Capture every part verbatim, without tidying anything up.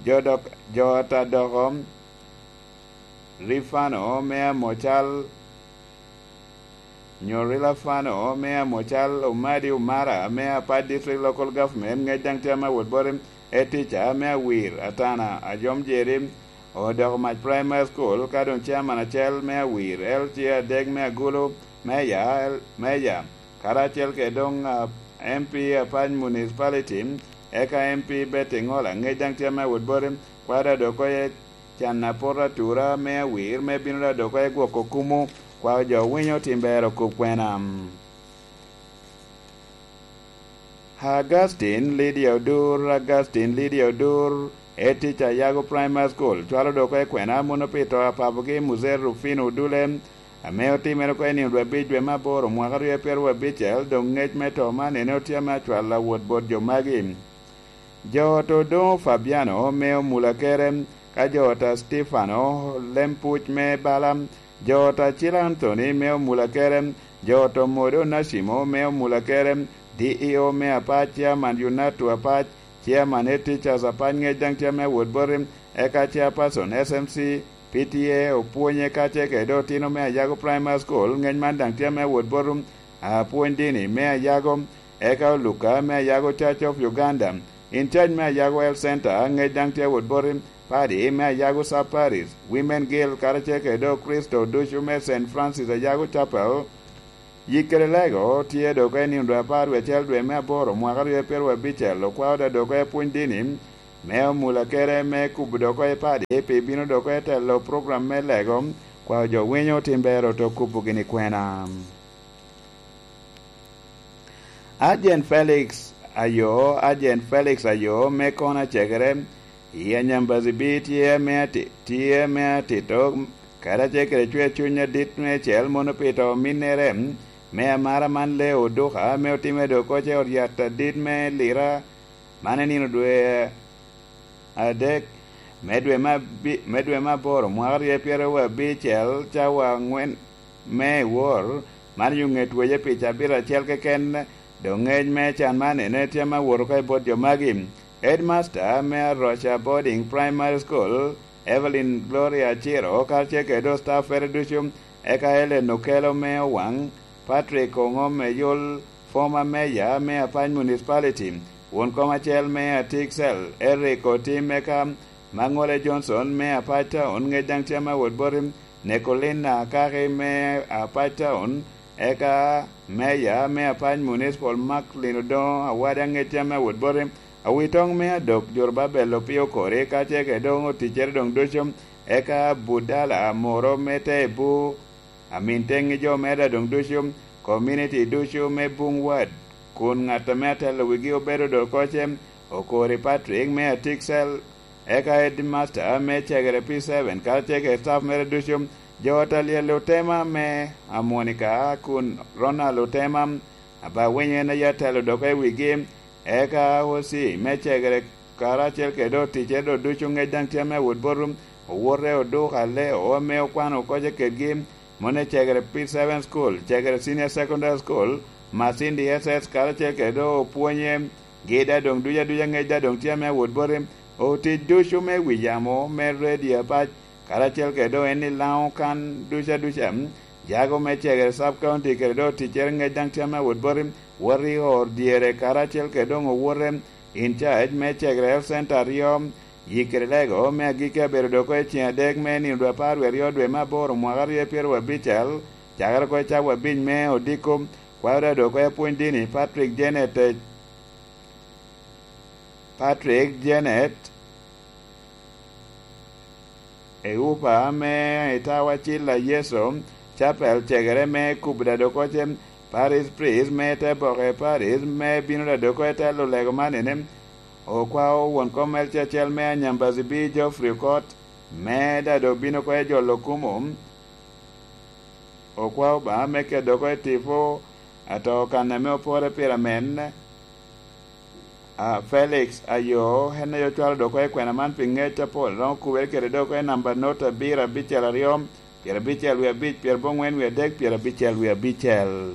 Jo dok, jo ata doko Rifano me Amocal, nyo Rilafano me Amocal, Omadi Umara me Apac District Local Government, ŋec daŋ tye ame awot boti, Etica me Awir, Atana, Ajom Jeri, Odoko Mac Primary School, ka doŋ chairman acel me Awir, L T A adek me Agulu, Meya, L-, Meya, karacel kede doŋ, ah, M P Apac Municipality, eka M P Betty Ŋola, ŋec daŋ tye ame awot boti, kwada dok oye can apot atura me Awir, me bino da dok oye gwoko kumu, kwao jo winyo tim ber okub kwena. Augustine Lydia Odur, Augustine Lydia Odur, etic Ayago Primary School, cwalo dok i kwena mono pi to a papogi Mzee Rufino Odule, ame otimere oko i nino dwe abic dwe me aboro mwaka aryo pyeraryo abicel, doŋ ŋec me to man ene otye ame acwalo awot bot jo magi. Jo ot Odoŋo Fabiano me Omulakere, ka jo ot a Stefano Lempuc me Bala, jo ot Acil Anthony me Omulakere, jo ot Omodo Onacimo me Omulakere, D E O me Apac, Chairman Yunatu Apac, Chairman Head Teachers Apac ŋec daŋ tye ame awot boti, eka Chairperson S M C P T A Opwonye, ka ce kede otino me Ayago Primary School ŋec man daŋ tye ame awot boti, apwony dini me Ayago, eka Oluka me Ayago Church of Uganda, in charge me Ayago Health Center ŋec daŋ tye awot boti, Padi me Ayago Sub Parish, Women Guild, karacel kede Okristo ducu me Saint Francis Ayago Chapel. Yik kede lego tye dok i nino dwe apar wie acel dwe me aboro mwaka aryo pyeraryo abicel, okwao da dok i pwony dini me Omulakere me kubo dok i padi pi bino dok i telo program me lego, kwao jo winyo tim ber oto kubo gini kwena. Ajen Felix Ayo, Ajen Felix Ayo me kono acegere i Anyambazi B tye ame ati-, tye ame atito, karacel kede cwer cuny adit meicel mono pi to ominnere, me amara man lee oduka ame otimme dok oce ot yat adit me Lira, man i nino dwe adek me dwe me abi-, me dwe me aboro mwaka aryo pyeraryo abicel, cawa angwen me wor, man yo ŋet wece pi cabit acel keken, doŋ ŋec me can man ene tye ame awot oko i bot jo magi. Headmaster me Aroca Boarding Primary School, Evelyn Gloria Aciro, karacel kede staffere ducu, eka Ellen Okelo me Owaŋ, Patrick Oŋom Eyol, former mayor me Apac Municipality, won kom acel me Atik Cell, Eric Otim, eka Maŋole Johnson me Apac Town, ŋec daŋ tye ame awot boti, Nicolina Akaki me Apac Town, eka mayor me Apac Municipal Marklin Odoŋo Awada, ŋec tye ame awot boti, Awitoŋ me Adok Jorobabel Opio Kori, ka ce kede doŋ oticcere doŋ ducu, eka Budala Amoro me Tebu, amin teŋ i jo me Ada doŋ ducu, komuniti ducu me Buŋ Wad, kun ŋat ame atelo wigi obedo dok oce, Okori Patrick me Atik Cell, eka Headmaster me Cegere P seven, karacel kede staff mere ducu, jo ot Alyel Otema me Amonika, kun Ronald Otema, Abawinyo en aye atelo dok i wigi, eka O C me Cegere karacel kede oticere dok ducu ŋec daŋ tye ame awot bot Owote Oduka Leo ame okwano okoce kedgi, moni Cegere P seven School, Cegere Senior Secondary School, Masindi S S karacel kede Opwonye, gi da doŋ duca duca ŋec da doŋ tye ame awot boti, otic ducu me wi yamo me redio Apac, karacel kede doŋ en i Laŋo kan duca duca, jago me Cegere Sub County kede doŋ oticere ŋec daŋ tye ame awot boti, wot i or dyere karacel kede doŋ owote in charge me Cegere Health Center aryo, yik kede lego me agikki abedo dok oko i ceŋ adek me nino dwe apar wie aryo dwe me aboro mwaka aryo pyeraryo abicel, cakere oko i cawa abic me odiko, kwaro da dok oko i apwony dini Patrick Janet, Patrick Janet, Eupa me Itawa Cilla Yeso, Chapel Cegere me Kubda Dokoce, Parish Priest me te boke Parish me bino da doko i telo lego man ene, okwao won kom L C acel me Anyambazi B Geoffrey Okot, me da dok bino oko i jolo kumo, okwao Obaŋa me keto oko i tipo ato kan ame opore pire amen. A, Felix Ayo, en aye ocwalo dok oko i kwena man pi ŋec apol, romo kubere kede dok oko i namba not abiro abicel aryo, pyerabicel wie abic, pyerabongwen wie adek, pyerabicel wie abicel.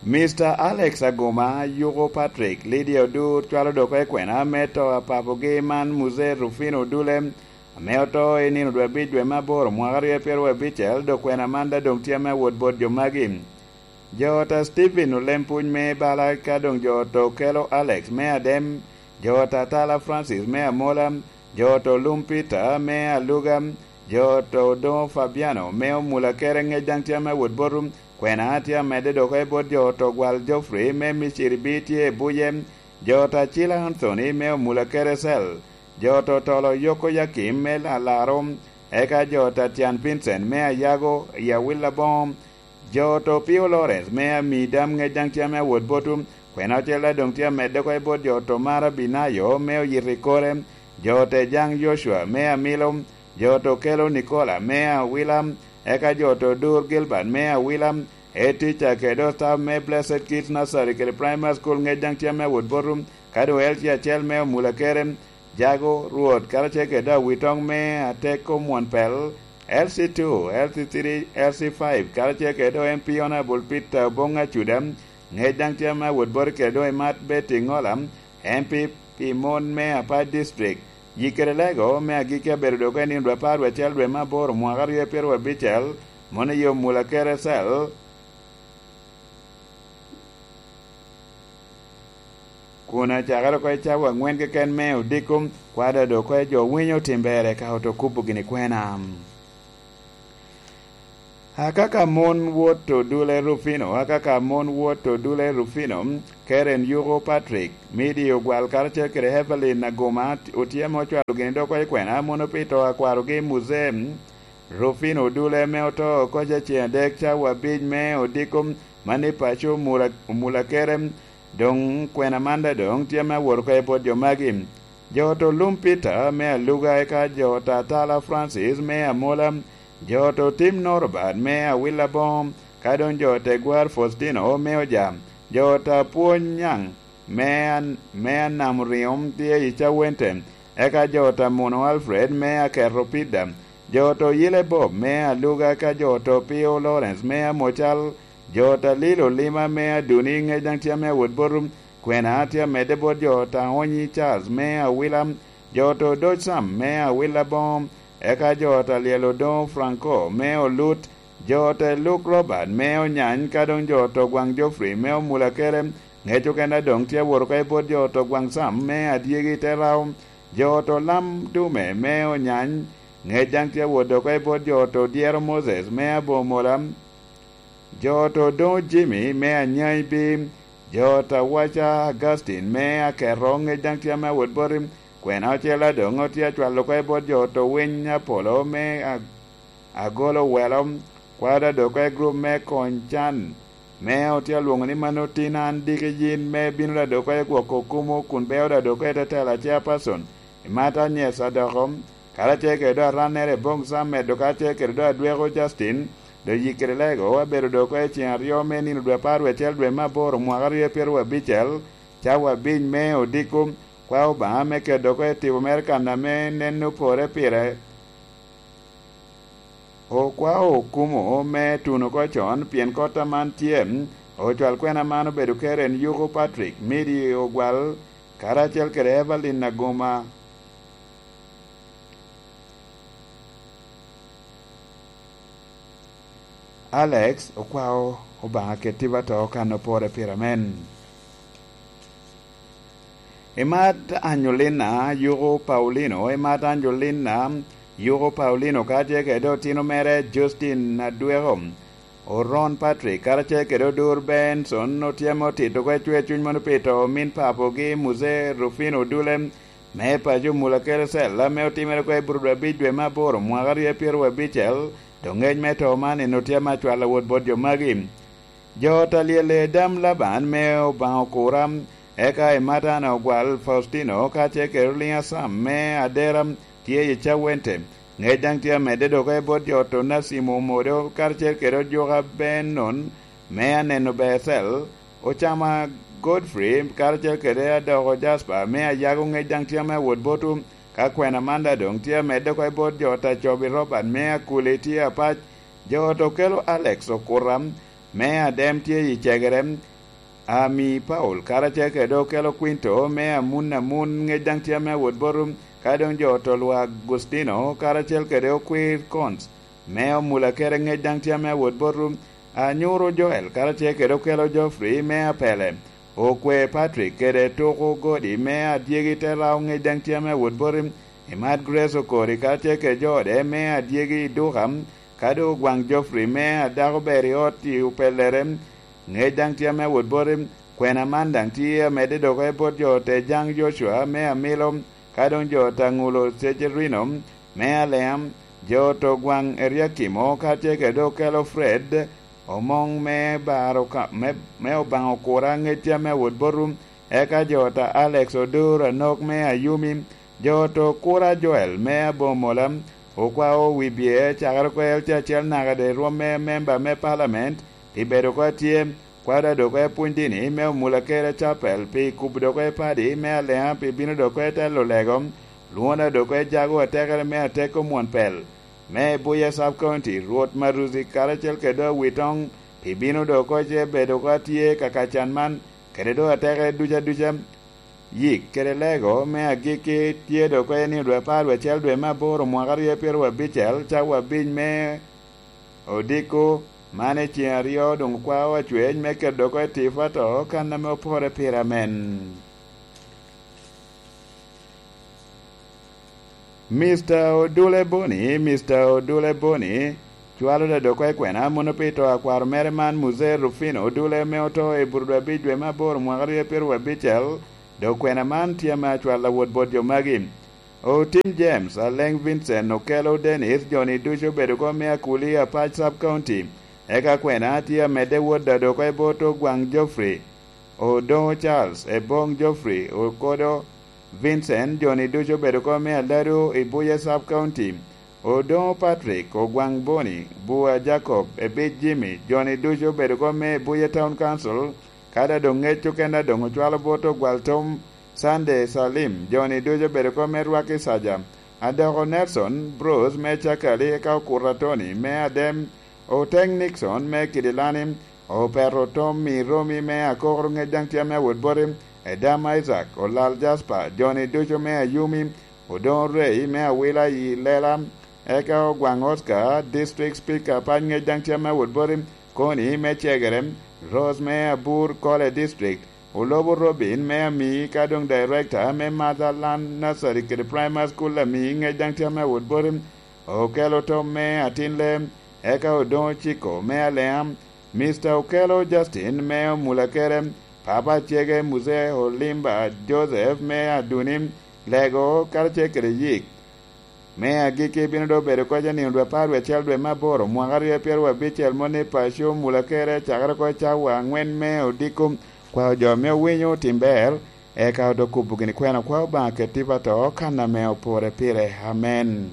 Mister Alex Aguma, Yuko Patrick, Lydia Odur cwalo dok i kwena me to a papogi man Mzee Rufino Odule, ame oto i nino dwe abic dwe me aboro mwaka aryo pyeraryo abicel, dok kwena man daŋ doŋ tye ame awot bot jo magi. Jo ta Stephen Olempuny me bala ka doŋ jo to kelo Alex me Adem, jo ta Tala Francis me Amola, jo to Lum Peter me Aluga, jo to Odoŋo Fabiano me Omula kere ŋec daŋ tye ame awot botu, kwena tye amedde dok i bot jo to Gwal Geoffrey me Miciri bi tye i buye, jo ta Cila Anthony me Omula kere cel, jo to Tolo Yoko Yakim me Alaro, eka jo ta Tian Vincent me Ayago i Awil Aboŋo, jo to Pio Lawrence me Amidam ŋec daŋ tye ame awot botu, kwena ocel daŋ doŋ tye amedde oko i bot jo to Mara Binayo me oyito i kore, jo te Jaŋ Yocua me Amilo, jo to Kelo Nicola me Awila, eka jo to Dur Gilbert me Awila, Etica kede Ostaff me Blessed Kids Nursery kede Primary School ŋec daŋ tye ame awot botu, ka doŋ L C acel me Omula kere, Jago, Rwot, karacel kede Awitoŋ me Ateko Mwon Pel, L C two, L C three, L C five, karacel kede M P Honorable Peter Oboŋ Acuda, ŋec daŋ tye ame awot boti kede doŋ imat Betty Ŋola, M P pi mon me Apac District. Yikkere Lego me agikki abedo dok i nino dwe apar dwe acel dwe me aboro mwaka aryo pyeraryo abicel, mono i Omula kere cel, kun acakere oko i cawa aŋwen keken me odiko, kwada dok oko i jo winyo tim ber eka oto kubo gini kwena. Akaka mon wot Odule Rufino, akaka mon wot Odule Rufino, Karen Yuko Patrick, Midi Ogwal karacel kede Evelyn Aguma otyemo ocwalo gini dok oko i kwena mono pi to a kwarogi Muzee Rufino Odule ame oto oko ceŋ adek cawa abic me odiko man i paco Mula, Mula kere. Doŋ kwena man daŋ doŋ tye me awot oko i bot jo magi. Jo to Lum Peter me Aluga, eka jo ta Tala Francis me Amola, jo to Tim Norobert me Awil Aboŋo, ka doŋ jo te Gwar Faustino me Oja, jo ta Pwony Nyaŋ me An-, me Anam Riŋo tye i Cawente, eka jo ta Muno Alfred me Aketo Pida, jo to Yile Bob me Aluga, eka jo to Pio Lawrence me Amocal, jo ta Lilo Lima me Aduni ŋec daŋ tye ame awot botu, kwena tye amedde bot jo ta Onyi Charles me Awila, jo to Doc Sam me Awila Boŋo, eka jo ta Lyel Odoŋo Franco me Olut, jo te Luk Robert me Onyany, ka doŋ jo to Gwaŋ Geoffrey me Omula kere, ŋec okene doŋ tye awot oko i bot jo to Gwaŋ Sam me Adyegi te Rao, jo to Lam Dume me Onyany, ŋec daŋ tye awot oko i bot jo to Dyero Moses me Abomola, jo to Doŋo Jimmy me Anyai Bim, jo ta Waca Augustine me Aketo ŋec daŋ tye ame awot boti, kwena ocel a doŋ otye acwalo oko i bot jo to Winy Apolo me A-, Agolo Welo, kwada dok oko i grup me Kony Can, me otye alwoŋo ni mano tin an diki yin me bino da dok oko i gwoko kumo kun beo da dok oko i tetela chairperson, i Mata Nyes Adoko, karacel kede do arannere Boŋ Sam medo karacel kede do adweko Justin, do yikkere lego abedo dok oko i ceŋ aryo me nino dwe apar dwe acel dwe me aboro mwaka aryo pyeraryo abicel, cawa abic me odiko, kwa Obaŋa me kedo oko i tipo mere kan ame nen opore pire. Okwao okumo me tuno oko con, pien kota man tye, ocwal kwena man obedo Karen Yuko Patrick, Midi Ogwal, karacel kede Evelyn Aguma. Alex okwao Obaŋa keti ba to kan opore pire amen. Imat Angelina Yuko Paulino, imat Angelina Yuko Paulino, ka tye kede otino mere Justin Adweko, Oron Patrick, karacel kede Odur Benson, otyemo tito kwe cwer cuny mono pi to omin papogi Muse Rufino Dule, me paco Mula Kerecel, ame otimere kwe i Burudwa abic dwe me aboro, mwaka aryo pyeraryo abicel, dok ngec me to man en otyemo acwalo wot bot jo magi. Jo ta lyelle dam Laban me Obaŋa okura, eka i Matana ogwal Faustino, ka ce kede Oliŋ Asam me Adera tye i Cawente. Ngec daŋ tye amedde dok i bot jo to Nasimo Omodo, karacel kede Ojuka Benon me Aneno Becel, Ocama Godfrey, karacel kede Adoko Jasper me Ayago. Ngec daŋ tye ame awot botwu, ka kwena man daŋ doŋ tye amedde oko i bot jo ta Cobi Robert me Akuli tye apac, jo to kelo Alex Okuta, me Adem tye i Cegere, Ami Paul karacel kede okelo Kwinto me amun amun, ŋec daŋ tye ame awot botu, ka doŋ jo oto lwa Agustino karacel kede okwir Kons me omula kede, ŋec daŋ tye ame awot botu, anyuro Joel karacel kede okelo Geoffrey me apele, okwe Patrick kede tuko godi me adyegi te rao, ŋec daŋ tye ame awot botu, imat Grace Okori karacel kede jo ode me adyegi i duka, ka doŋ ogwaŋ Geoffrey me adako ber i ot i opellere, ŋec daŋ tye ame awot bote, kwena man daŋ tye amedde dok i bot jo te jaŋ Joshua me amilo, ka doŋ jo te ŋulo Cecerino me Aleam, jo te gwaŋ Eriakimo, ka tye kede okelo Fred, omoŋ me baro ka, me, me Obaŋa okura, ŋec tye ame awot botu, eka jo te Alex Odur Anok me Ayumi, jo te okura Joel me Abomola, okwao wi bye cakere oko L C acel naka de rwom me memba me palament, pi bedo oko atye, kwada dok epwony dini me omula kede capel, pi kubo dok epadi me Aleŋa, pi bino dok etelo lego, lwona dok ejago atekere me ateko mwon pel, me Buya Sub County, Rwot Maruzi karacel kede Awitoŋ, pi bino dok oko ce bedo oko atye ka kacan man, kede dok atekere duca duca. Yik kede lego me agikki tye dok oko i nino dwe apar dwe acel dwe me aboro mwaka aryo pyeraryo abicel, cawa abic me odiko, man i ceŋ aryo doŋ okwao acwec me keto dok oko i tipo ato kan ame opore pire amen. Mister Odule Boni, Mister Odule Boni, cwalo da dok oko i kwena mono pi to a kwaro mere man, Muzee Rufino Odule, ame oto i bur dwe abic dwe me aboro mwaka aryo pyeraryo abicel, dok kwena man tye ame acwalo awot bot jo magi. Otim James, Aleŋ Vincent, Okelo Dennis, jo-ni ducu obedo oko me Akuli, Apac Sub County. Eka kwena tye amedde wot da dok oko i bot Ogwaŋ Geoffrey, Odoŋo Charles, Eboŋ Geoffrey, Okodo Vincent, jo-ni ducu obedo oko me Aladu i Buye Sub County. Odoŋo Patrick, Ogwaŋ Boni, Bua Jacob, Ebic Jimmy, jo-ni ducu obedo oko me Buye Town Council, ka da doŋ ŋec okene doŋ ocwalo bot Ogwal Tom Sunday Salim, jo-ni ducu obedo oko me Rwaki Saja, Adoko Nelson Bruce me Cakali, eka Okuta Tony me Adem, Oteŋ Nixon me Kidilani, Opeto Tom i Romi me Akokoro, ŋec daŋ tye ame awot boti, Edam Isaac, Olal Jasper, jo-ni ducu me Ayumi, Odoŋo Rei me Awila i Lela, eka Ogwaŋ Oscar, District Speaker, Apac, ŋec daŋ tye ame awot boti, Koni me Cegere, Rose me Abur Kole District, Olobo Robin me Amii, ka doŋ Director me Motherland Nursery kede Primary School Amii, ŋec daŋ tye ame awot boti, Okelo Tom me Atinle, eka Odoŋo Ciko me Aleam, Mister Okelo Justin me Omulakere, Papa Cege Muzee Olimba Joseph me Aduni, Lego karacel kede Yik. Me agikki bino doŋ bedo koc i nino dwe apar wie acel dwe me aboro, mwaka aryo pyeraryo abicel, moni paco Omulakere, cakere oko i cawa aŋwen me odiko, kwao jo ame owinyo otim ber, eka odok kubo gini kwena kwao Obaŋa kede tipo ato kan ame opore pire. Amen.